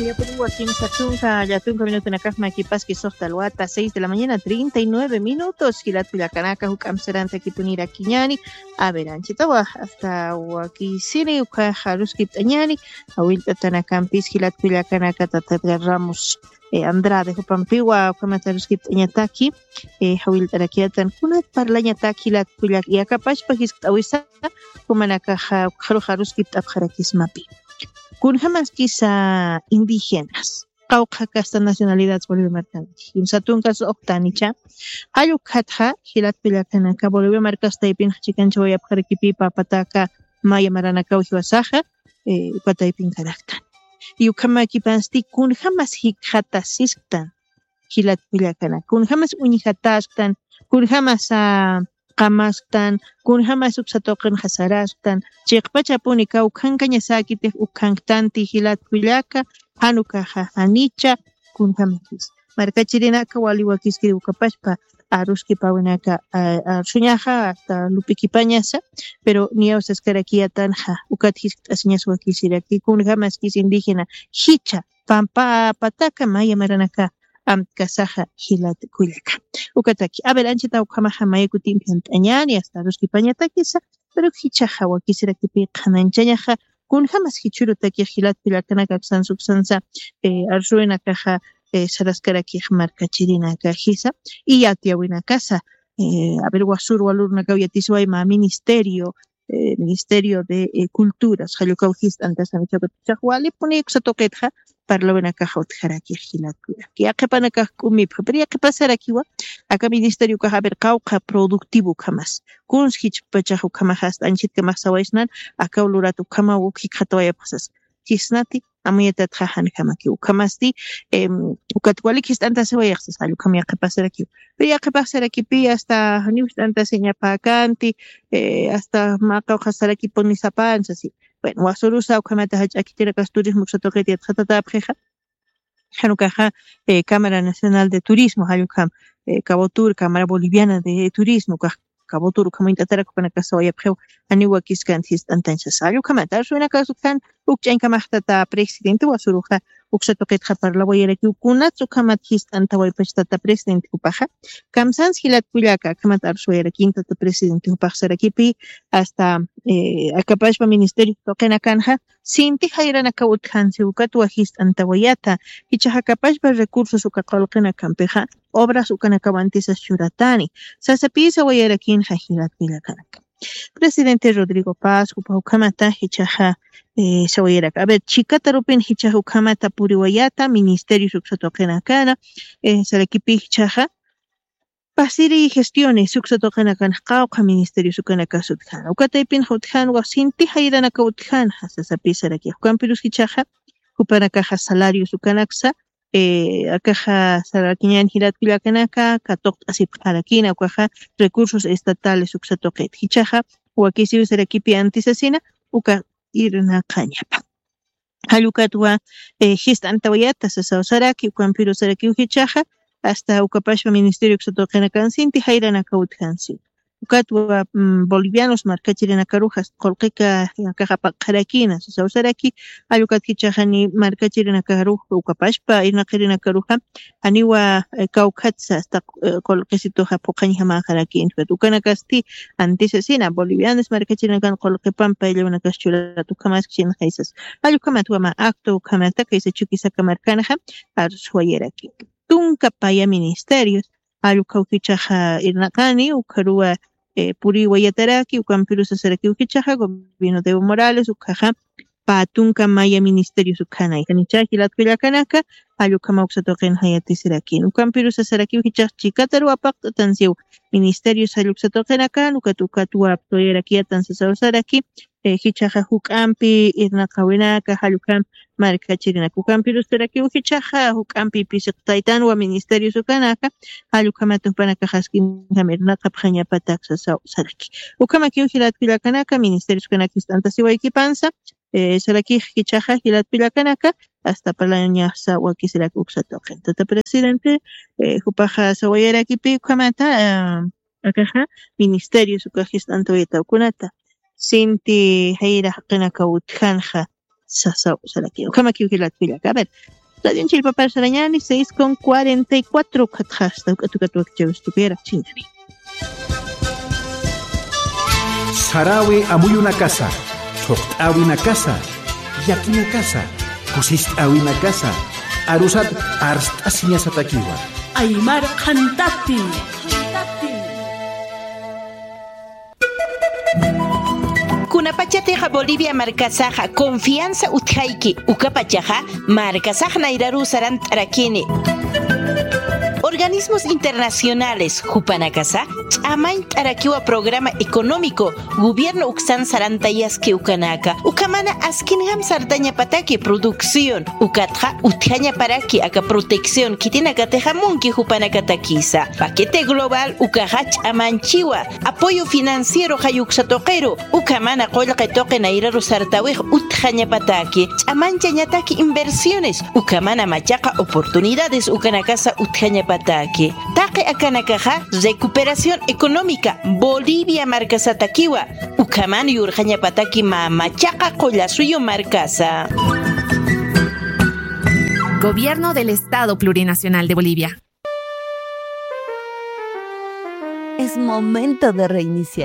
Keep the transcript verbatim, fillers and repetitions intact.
Yapuriwa kimsa tunka, llatunka minutunakax makipaski suxta alwata, seis de la mañana, treinta y nueve minutos. Jilat kullakanaka, juk'amp sarantakipunirakiñani. A ver, anchitawa, hasta wakisini, ukaxa aruskipt'añani. Awillt'atanakampis jilat kullakanaka, tata Edgar Ramos, eh, Andrade, jupampiwa, ukamata aruskipt'añataki, eh, awillt'arakiyatan, kunat parlañataki jilat kullak, yakapashpa jiskt'awisa, jumanakaxa, ukaxarux aruskipt'apxarakismapi. Kunjamaskisa indígenas, qawqha kasta nacionalidad Bolivia markanti. Kimsa tunkas uqtanicha, jallukatxa, jilat kullakanaka, Bolivia markastaypin chikanchawayapxarakipi, papataka, maya maranakaw jiwasaxa, eh, ukataypin karaktan. Y ukhamakipasti, kunjamas jikxatasisktan, jilat kullakanaka, kunjamas uñjatasktan, kunjamas, ah, qamasktan, kunjamas uksa tuqinxa sarasktan, chiqpachapuni kawkhankañasäkitix ukhanktanti jilat kullaka, jan ukaxa janicha, kunjamakis. Markachirinaka wali wakiskiri ukapashpa, aruskipawinaka, ah, arsuñaxa, hasta lup'ikipañasa, pero niyaw saskarakiyatanxa, ukat jiskt'asiñas wakisiraki, kunjamaskis indígena, jicha, pampa pataka maya maranaka, amtkasaxa jilat kullaka. Ukataki, a ver, anchita ukhamaxa maya kutimpi amt'añani, hasta aruskipañatakisa, pero jichaxa wakisirakipi qhanañchañaxa, kunjamas jichhürutakix jilat kullakanaka aksansa uksansa, eh, arsuwinakaxa, eh, saraskarakix markachirinaka jisa, y yatiyäwinakasa, eh, a ver, wasür walürunakaw yatisiway mä ministerio, eh, Ministerio de, eh, Culturas, jallukaw jist'antasani, chakuta, chax walipuni uksa tuqitxa, parlawinakaxa utjarakix jilat kullaka. Yaqhipanakax k'umipxa, pero yaqhipasarakiwa, aka ministeriokax, a ver, qawqha productivo ukhamas. Kuns jichpachax ukhamax hasta anchitkamax sawaysnan, akaw lurat ukhamaw uk jikxatawayapxsas. Jisnati, amuyatatxa janjamakiw. Ukhamasti, em, ukat walik jist'antasiwayxsas, jall ukham yaqhipasarakiw. Pero yaqhipaxsarakipi hasta janiw jist'antasiñapäkänti, eh, hasta mä qawqhasarakipuni sapän sasi. Bueno, wasürusa ukhamata jach'a khitinakax turismo uksa tuqit yatxatatäpxixa. Jan ukaxa, eh, Cámara Nacional de Turismo, jall ukham, eh, Cabotur, Cámara Boliviana de Turismo, ukax Cabotur ukham uñt'atarak jupanakax sawayapxiw, janiw wakiskänti jist'antañ sasa. Jall ukhamata, arsuwinakax utjan, ukch'añkamax tata presidente wasüruxa, uksa tuqitxa parlawayarakiw, kunats ukhamat jist'antawaypach tata presidente jupaxa. Kamsans jilat kullaka, akhamat arsuwayarakin tata presidente jupax sarakipi, hasta, eh, akapashpa ministerio tuqinakanxa, sinti jayranakaw utjansi, ukatwa jist'antawayata, jichhax akapashpa recursos uka qullqinakampixa, obras ukanakaw antisas churatani, sasapï sawayarakinxa jilat kullakanaka. Presidente Rodrigo Paz, jupa ukhamata, jichhaxa, eh, sawayarak. A ver, chikatarupin jichhax ukhamata puriwayata, ministerios uksa tuqinakana, eh, sarakipi jichhaxa, pasiri gestiones uksa tuqinakan qawqha ministerios ukanakas utjana. Ukataypin utjanwa sinti jayranakaw utjanxa, sasapï saraki. Ukampirus jichhaxa, jupanakaxa salarios ukanaksa, eh, akaxa sarakiñän jilat kullakanaka, katuqt'asipxarakina, ukaxa recursos estatales uksa tuqit. Jichhaxa, wakisiw sarakipi antisasina, uka irnaqañapa. Jall ukatwa, eh, jist'antawayata sasaw saraki, ukampirus sarakiw jichhaxa, hasta ukapashpa ministerio uksa tuqinakan sinti jayranakaw utjansi. Ukatwa, mm, bolivianos markachirinakaruxa qullqika akax apaqxarakina, sasaw saraki, jall ukat jichhaxa ni markachirinakaruxa, ukapashpa irnaqarinakaruxa, janiwa, eh, kawkhatsa hasta, eh, qullqisituxa phuqhañjamäxarakïnti. Ukanakasti antisasina, bolivianos markachirinakan qullqipan payllawinakas churat ukhamaskchinxa sas. Jall ukhamatwa mä acto ukhamata kaysa Chuquisaca markanxa arsuwayaraki. Tunka paya ministerios, jall ukaw jichhaxa irnaqani, ukaruwa, eh, puriwayataraki, ukampirus sasarakiw jichhaxa, gobierno de Evo Morales, ukaxa, pä tunka maya ministerios ukhanay. Janicha jilat kullakanaka, jall ukhama uksa tuqinxa yatisirakin. Ukampirus sasarakiw jichhax chikataruw apaqt'atansiw ministerios jall uksa tuqinakan, ukat, ukatwa apsuwayarakiyatan sasaw saraki, eh, jichhaxa juk'ampi irnaqawinaka, jall ukham markachirinaka. Ukampirus sarakiw jichhaxa, juk'ampi pisiqtaytanwa ministerios ukanaka, jall ukhamata jupanakax askinjam irnaqapxañapatak sasaw saraki. Ukhamakiw jilat kullakanaka, ministerios ukanaka jist'antasiwaykipansa, eh, sarakix jichhaxa jilat kullakanaka, hasta parlañasa wakisirak uksa tuqin. Tata presidente, eh, jupaxa sawayarakipi ukhamata, ah, akaxa, ministerios ukax jist'antawayataw kunata. Sinti jayra jaqinakaw utjanxa, sasaw saraki. Ukhamakiw jilat kullaka. A ver, radion chillpapar sarañani, seis con cuarenta y cuatro, ukhatxa asta uk'at uk'at wakchawis tukuyarak chiñani. Sarawi amuyunakasa, thuqt'awinakasa, llakinakasa, kusist'awinakasa, arusat arst'asiñasatakiwa. Aymar qhantati. Kunapachatixa Bolivia markasaxa confianza utjayki, ukapachaxa markasax nayraruw sarant'arakini. Organismos internacionales jupanakasa ch'amañt'arakiwa programa económico gobierno uksan sarantayaski ukanaka, ukhamana askinjam sartañapataki producción, ukatxa utjañaparaki aka protección khitinakatixa munki jupanakatakisa. Paquete global ukaxa ch'amanchiwa apoyo financiero jayuksa tuqiru, ukhamana qullqi tuqi nayraru sartawix utjañapataki, ch'amanchañataki inversiones, ukhamana machaqa oportunidades ukanakasa utjañapataki. Taqi akanakaxa recuperación económica Bolivia markasatakiwa, ukhaman yurqañapataki mä machaqa qullasuyu markasa. Gobierno del Estado Plurinacional de Bolivia. Es momento de reiniciar.